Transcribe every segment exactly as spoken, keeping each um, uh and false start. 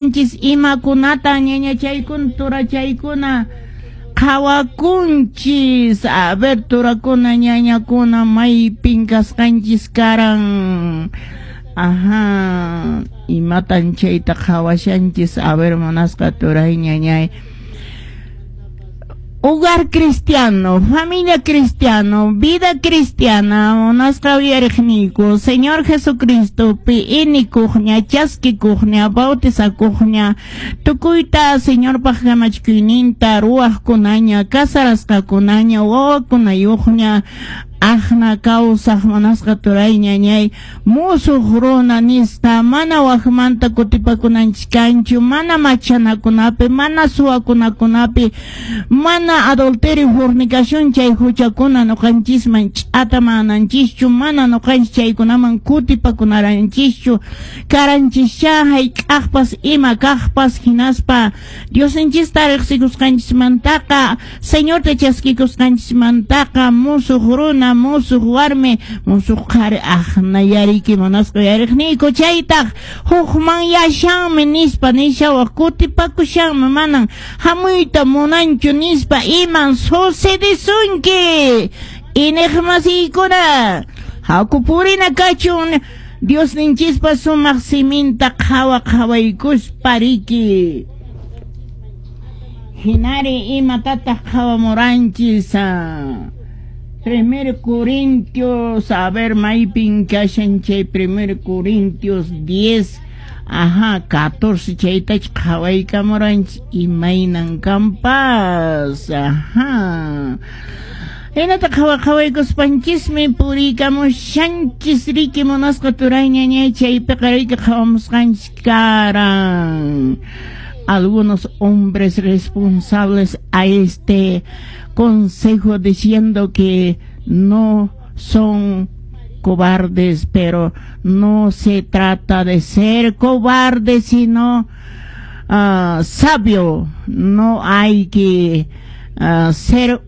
Imakunata ñañachaykuna turachaykuna qhawakunchis. A ver, turakuna, ñañakuna, maypin kasqanchis karan? Ajá, imatan chayta qhawashanchis? A ver, munasqa turay, ñañay. Hogar cristiano, familia cristiano, vida cristiana, munasqa uyariqniyku, Señor Jesucristo pi inikuqña, chaskikuqña, bautizakuqña, tukuyta Señorpaq kamachikuyninta ruwaqkunaña, casarasqakunaña, wawakunayuqña, aqna kawsaq munasqa turay, ñañay, musuq runa nisqa, mana waqmanta kutipakunanchis kanchu, mana machanakunapi, mana suwakunakunapi, mana adulterio, fornicación chay huchakuna nuqanchisman ch'atamananchischu, mana nuqanchis chaykunaman kutipakunaranchischu, karanchischa hayk'aqpas ima kaqpas, hinaspa Diosninchista riqsikusqanchismantaqa, Señorta chaskikusqanchismantaqa, musuq runa, musuq warmi, musuq qhari aqna yariki munasqa uyariqniyku, chaytaq hukmanyashanmi nispa nishawaq, kutipakushanmi, manan hamuyta munanchu nispa, iman sucedesunki iñiqmasiykuna? Haku purina kachun Diosninchispa sumaq siminta qhawa qhawaykuspa riki. Hinari imatataq qhawamuranchis? Primer Corintios, a ver, maypin kashan chay Primer Corintios diez, ajá, catorce, chaytach qhawaykamuranchis, imaynan kanpas, ajá. Hinata qhawa qhawaykuspanchismi puriykamushanchis riki munasqa turay, ñañay, chaypiqa riki qhawamusqanchis karan. Algunos hombres responsables a este consejo diciendo que no son cobardes, pero no se trata de ser cobarde, sino uh, sabio. No hay que uh, ser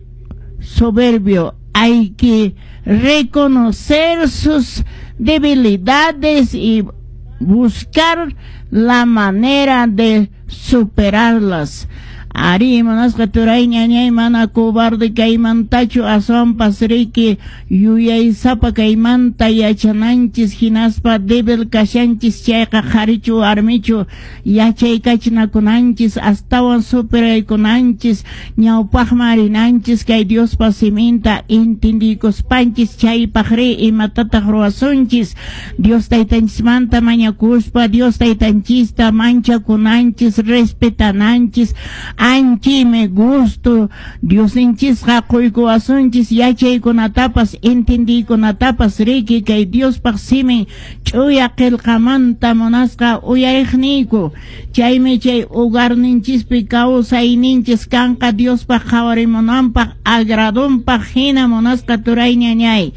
soberbio, hay que reconocer sus debilidades y buscar la manera de superarlas. Ari munasqa turay, ñañay, mana cobarde kaymantachu, aswanpas riki yuyaysapa kaymanta yachananchis, hinaspa débil kashanchis chayqa, qharichu warmichu, yachaykachinakunanchis, astawan superaykunanchis, ñawpaqman rinanchis kay Diospa siminta entendiykuspanchis. Chaypaq ri imatataq ruwasunchis? Dios taytanchismanta mañakuspa, Dios taytanchista manchakunanchis, respetananchis, anchime gusto Diosninchisqa quykuwasunchis yachaykunatapas, entendiykunatapas riki kay Diospaq simin ch'uya qillqamanta munasqa uyariqniyku. Chaymi chay hogarninchispi kawsayninchis kanqa Diospaq qhawarimunanpaq, agradonpaq hina munasqa turay, ñañay.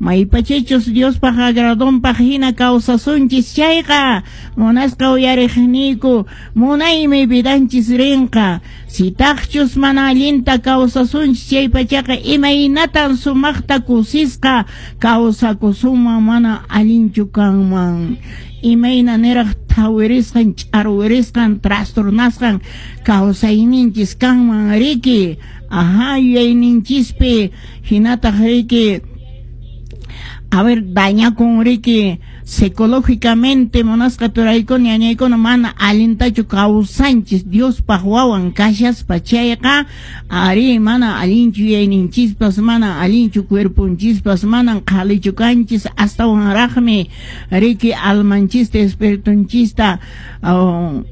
Maypachichus Diospaq agradonpaq hina kawsasunchis chayqa, munasqa uyariqniyku, munaymi vidanchis rinqa. Sitaqchus mana allinta kawsasunchis chaypachaqa, imaynatan sumaqta kusisqa kawsakusunman? Mana allinchu kanman, imayna niraq thawirisqan, ch'arwirisqan, trastornasqan kawsayninchis kanman riki, ajá, yuyayninchispi hinataq riki, a ver, dañakun riki psicológicamente munasqa turaykuna, ñañaykuna, mana allintachu kawsanchis Diospaq wawan kashaspa chayqa, ari mana allinchu yuyayninchispas, mana allinchu cuerponchispas, manan qhalichu kanchis, astawanraqmi riki almanchista, espiritunchista oh,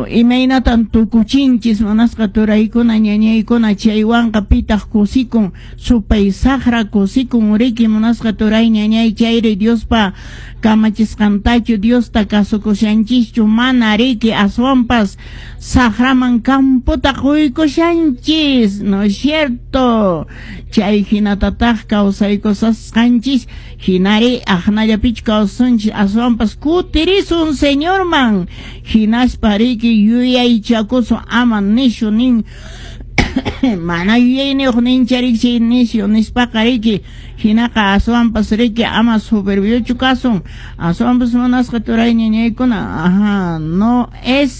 imaynatan tukuchinchis munasqa turaykuna, ñañaykuna. Chaywanqa pitaq kusikun? Supay saqra kusikun riki munasqa turay, ñañay. Chayri Diospa kamachisqantachu, Diosta kasukushanchischu? Mana riki, aswanpas saqraman campota quykushanchis, ¿no es cierto? Chay hinatataq kawsaykusasqanchis hinari aqnallapichu kawsanchis, aswanpas kutirisun Señorman, hinaspa riki yuyaychakusun, ama nishu nin Mana yuyayniyuq ninchariki chay nisyu nispaqa riki. Hinaqa aswanpas riki ama soberbiochu kasun. Aswanpas munasqa turay ñañaykuna, ajá, no es